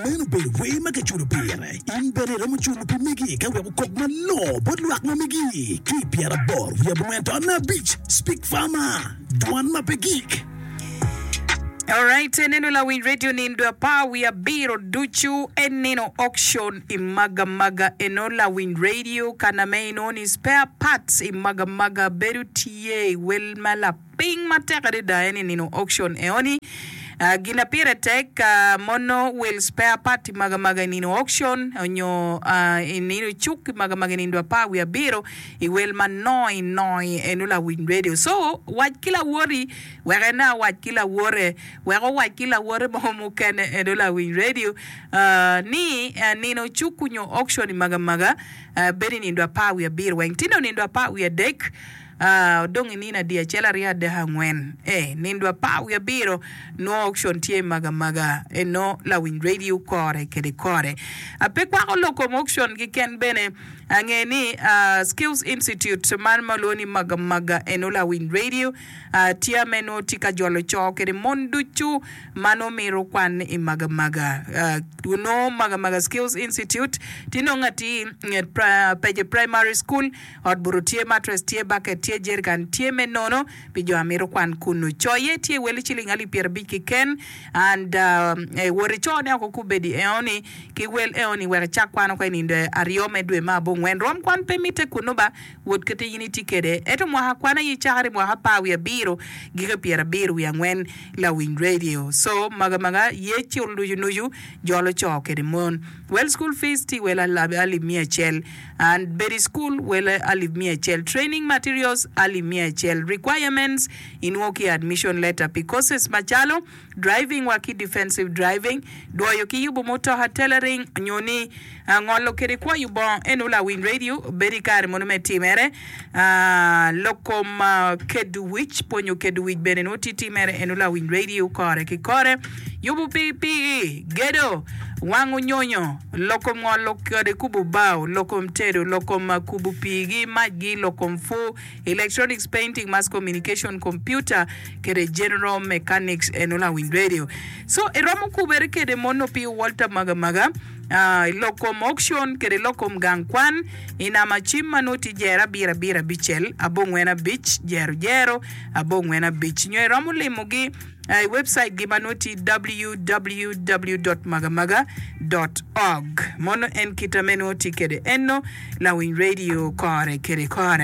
Meno obedo wer ma kiculo pire. In bene iromo culo pi megi ka wek okok malongo bot lwak ma megi ki i pyeraboro wiye abongwen taun abic. Speak Farmer, Dwan ma pe gik. Alright, eneno lawiny radio nindo apar wiye abiro ducu en nino auction i Magamaga eno lawiny radio kana me inongo ni spare parts i Magamaga bedo tye i wel ma lapiny matek adada en i nino auction eoni gin na pire tek mono wel spare part i Magamaga i nino auction onyo i nino cuk i Magamaga i nindo apar wiye abiro i wel ma noi noi eno lawiny radio so wac ki lawoti Wek en awac ki lawote, wek owac ki lawote mo mukene eno lawiny radio ni nino cuku nyo auction i Magamaga bedo i nindo apar wiye abiro weng tino nindo apar wiye adek odong i nino adi acel aryo adek angwen ee nindo apar wiye abiro nwo auction tye i Magamaga eno lawiny radio kore kede kore pe kwako lok kom auction kiken bene ange ni Skills Institute man ma olwongo ni Magamaga eno lawiny radio Tye me nongo tye ka jolo co kede mon ducu ma nongo mito kwan i Magamaga. Nongo Magamaga Skills Institute tye nongo atir nget Peje Primary School. Ot buto tye, mattress tye, bucket tye, jerrican tye me nono pi jo a mito kwan kunu. Coye tye wel ciling alip pyerabic keken and wot icone oko kubedi eoni ki wel eoni wek icak kwan oko i nindo aryo me dwe me abongwen. Rwom kwan pe mitte kunu ba. Wot kite in itye kwede. Ento mwaka kwan aye cakere i mwaka apar wiye abiro giko i pyerabiro wiye angwen lawiny radio. So maga maga ye cul nucu nucu jolo co kede mon. Wel school fees tye wel alip miya acel and bedo i school wel alip miya acel training materials alip miya acel requirements inwongo ki admission letter pi courses macalo driving wa ki defensive driving, dwoyo ki yubo mutoka, tailoring, nyo ni ngolo kede kwoyo bongo. Eno lawiny radio bedo i kare mono me timere. Lok kom kedo wic, pwonyo kedo wic bene nongo tye timere. Eno lawiny radio kore ki kore. Yubo pikipiki, gedo, wango nyonyo, lok kom ngolo kede kubo bao, lok kom tedo, lok kom kubo pii-gi, mac-gi, lok kom pur, Electronics, Painting, Mass Communication, Computer kede General Mechanics eno lawiny radio. So iromo kubere kede mono pi Walter Magamaga i lok kom auction kede lok kom gang kwan i nama cim ma nongo tye jero abiro abiro abicel abongwen abic jero jero abongwen abic nyo iromo limo gi i website gi ma nongo tye www dot magamaga dot org. Mono en kita me nongo tye kede eno lawiny radio kore kede kore.